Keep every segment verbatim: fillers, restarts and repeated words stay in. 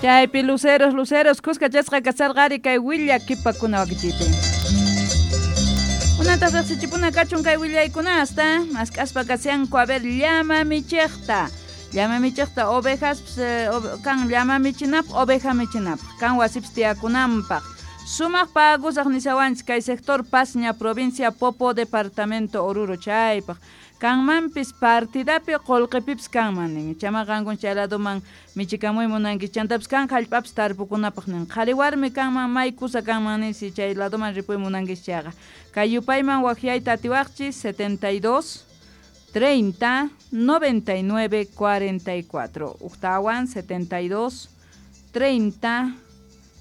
Chaypi luceros, luceros, kuskachasqa kasarqari kay willakipakuna wakichipi. Unataq riqsichipuna kachun kay willaykunasta, mask'aspa kashanku a ver llama michiqta. Llama michiqta ovejas eh, kan llama michinapaq, oveja michinapaq, kan wasipis tiyakunanpaq. Sumaq pagusaq nishawanchik kay sector Pasña, provincia Popo, departamento Oruro chaypaq. Kanmanpis partidapi qullqipipis kanman nin. Chama qankun chay ladoman michikamuy munanki chantapis kan hallp'apis tarpukunapaq nin. Qhari warmi kanman may kusa kanman ninsi chay ladoman ripuy munankichis chayqa. Kay yupayman waqyayta atiwaqchis setenta y dos treinta noventa y nueve cuarenta y cuatro. Ujtawan setenta y dos treinta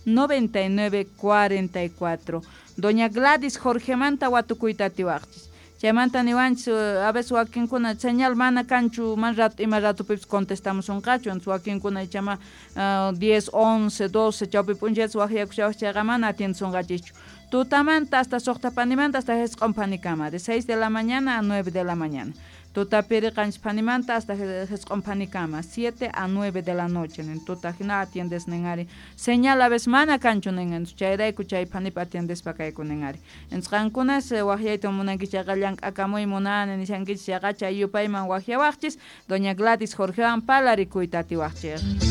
noventa y nueve cuarenta y cuatro. Doña Gladys Jorgemanta watukuyta atiwaqchis. Chaymanta niwanchis a veces wakinkuna señal mana kanchu man rato ima ratopipis contestamusunqachu entonces wakinkuna ichama uh, diez, once, doce chawpi p'unchaytas waqyakushawaq chayqa mana atiendesunqachischu. Tutamanta hasta suqta panimanta hasta jisq'un panikama de seis de la mañana a nueve de la mañana. Tutapiri qanchis panimanta hasta jisq'un panikama siete a nueve de la noche nin tuta hina atiendes nin ari señal a veces mana kanchu nin entonces chayrayku chay panipi atiendespa kayku nin ari entonces qankunas waqyayta munankichis chayqa llank'akamuy munani nishankichis chayqa chay yupayman waqyawaqchis doña Gladys Jorgewan parlarikuyta atiwaqchis.